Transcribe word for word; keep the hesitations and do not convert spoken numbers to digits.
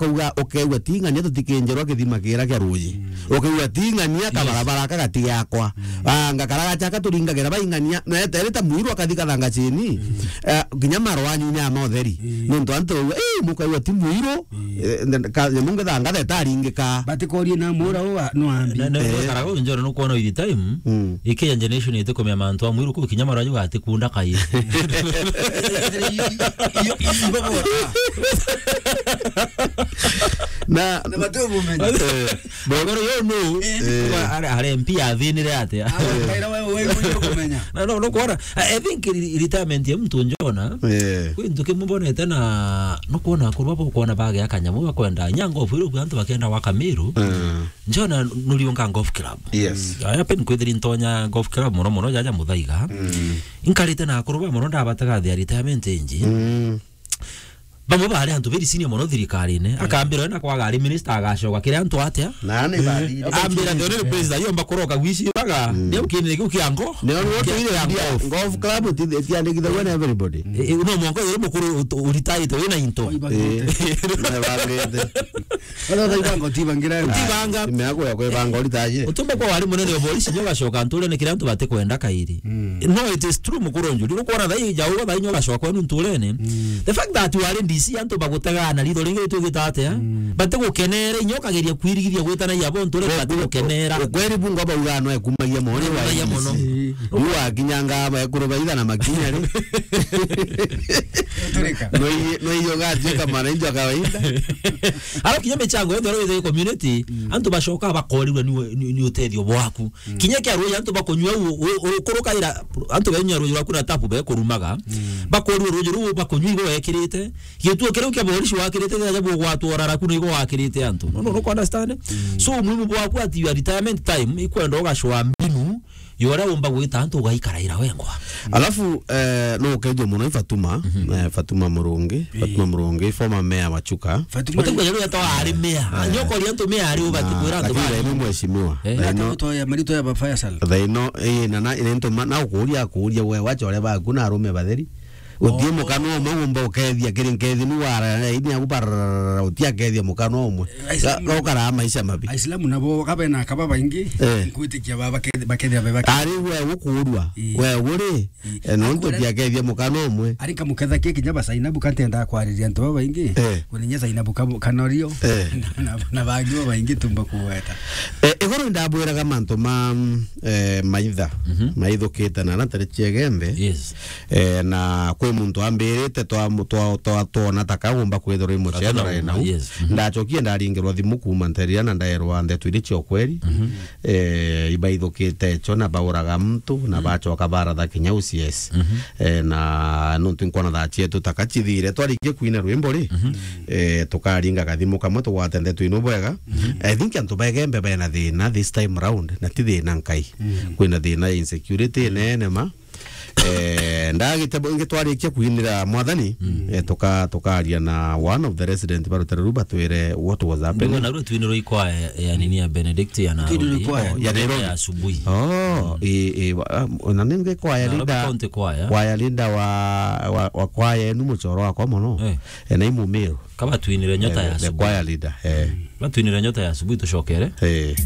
kauga, ukeigua ti ng'ania tutikinjerwa kithima kiria kia ruuji. Mm. Ukeigua ti ng'ania, yes, kabarabara aka gati yakwa. Mm. Ah, ngakara gachaka turingagira baing'ania, na eterite mwiru akathi kathanga chini. Mm. Eh, kinya maro anyu nyama utheri. Mm. Nontu antu, eh, mukaigua ti mwiru, mm, eh, nde-, ka-, nyamu ngetha ngathe itaringika. Batikorie na mura uwa, no ambi. Na, na, eh, nukaraga unjore nukwona with time, mm, ikinya generation itikumenya mantu a mwiru kuu kinya maro anyu gatikunda kai. Iyo, iyo, iyo, Na, na batu bumenya. Eh, Bogoro yo no. Eh. Kwa are, are M P athinire atia? Ah, kaira wewe, wewe, wewe kumenya. Na no, no kwona. I, I think re-, retirement ya mtu njona. Eh. Kwi ntu kimwe mbonete na no kwona kurwa bo kwona bage akanyamu bakwenda. Nya golf iru antu bakenda wa Kamiru. Mm. Njona nuriunga golf club. Yes. Mm. Aya pen kwithiri ntonya golf club muno muno jaja Muthaiga. Mm. Inkarite na kurwa muno ndabatega thia retirement inji. Mm. Bamwe bari antu beri senior mono thirikarine, mm, akambira na kwaga ari minister agacoka kiri antu atia? Na ni bari. Eh, ambira the only place that yomba kuroka wici baga, mm, ni ukini kiu kia ngo. Ni onu kia, kia ngo. Golf club ti, tiandikithagua na everybody. Eh, eh, no mwanko yuri mukuru ut-, uritaite wina into. Eh, na bagete. Wala thai bango ti bangira. Ti banga. Ime yako ya kwebanga uritaje. Utumba kwa wari munene wa polisi nyo gacoka nture ni kiri antu batikwenda kairi. Mm. No, it is true, mukuru njuri. Nukwona thai jau thai nyo gacoka kwenu nturene. Mm. The fact that wari D C antu bagutega na ritho ringi ritugita atia? Mm. Batigukenera, inyo kageria kwirigithia gwitana ya bo nture, batigukenera. Ukweri bunga bauga no ekumagia mone wa D C. Ekumagia mono. Yu akinyanga ba ekuru baitha na makinya ri. Turika. No iye, no iye ugatuika mwananchi wa kawaida. Ara kinya michango yonthe iri community, mm, antu bacoka bakorirwe ni, ni, ni utethio bwaku. Mm. Kinya kia ruuji antu bakunyua u-, u-, ukurukaira antu benyua ruuji rwaku na tapu bekurumaga. Mm. Bakorua ruuji ruu bakunyua igo wekirite. Gituo kiriu kia borisi wakirite jaja bugwatwa raraku na igo wakirite antu. No, no, no, understand? Mm. So, muhimu bwaku ati your retirement time ikwenda ugacwa mbinu yora umba gwita antu ugaikaraira wengwa. Alafu, eh, no ukejo muno i Fatuma, mhm, eh, Fatuma Murungi, ii, Fatuma Murungi, former mayor wa Chuka. Fatuma. Fatuma yari yatawa ari mayor. Eh. Nyoko ri antu mayor ari ubati kwira antu lakini bari. Ni mheshimiwa. Eh. Ino marito ya, marito ya ba Faisal. Thaino, eh, na, na, into ma-, na ukuria, akuria we, wacha ore baku na arume batheri. Utie, oh, mukana umwe umba ukethia kiri nkethi nu wara, ini aku bararara, utia kethia mukana umwe. Aislamu. Ga-, gokara maisha mabi. Aislamu nabo kabe na kaba baingi, eh, nkwitikia ba-, bake-, bakethia be bake-. Ari we ukurua, ii, we uri, ii, eh, nontu akwira tiakethia mukana umwe. Ari kamuketha ki kinya ba Zainabu kantenda kwariria antu babaingi. Eh. Kuninya Zainabu kabu-, kanorio. Eh. Na, na, na bangi babaingi tumba kuweta. Eh, iguru ndabwiraga mantu ma, mm, eh, maitha. Mhm. Maithukite na na tari chiegembe. Yes. Eh, na kwi muntu ambirite twa, twa, twa, twona ta kagumba kwithirwa i mucethera nau. Yes. Mhm. Ndachokie ndaringirwa thimu kuuma nteria na ndaerwa ndeto iri cia ukweri. Mhm. Eh, ibaithukite cho na bauraga muntu na, mhm, bachoka baratha kinya U C S. Mhm. Eh, na nontu nkona thaa cietu ta kachithire twarikie kwina rwimbo ri, mhm, eh, tukaringa kathimu kamwe tugwate ndeto ino bwega. Mhm. I think antu begembe bena thina this time round na ti thina nkai. Mhm. Kwina thina ya insecurity nene ma. Eh, ndagite bo-, ingi twarikia kuinira mwathani, mm, eh, tuka-, tukaria na one of the resident ba rutere ru batwire what was happening. Ndio na rutwini rwa ikwaya ya nini ya Benedict ya Nairobi. Ndio ikwaya. Oh, ya Nairobi. Ya asubuhi. Oh, mm, eh, eh, wa-, ah, na ningi kwaya leader. Nairobi County Choir. Kwaya leader wa, wa, wa kwaya enu muchoro wakwa muno. Eh. Eh, na imumiru. Kaba twinire nyota, eh, ya the asubuhi. Choir leader, eh. Mm. Batwinire nyota ya asubuhi tucokere. Eh.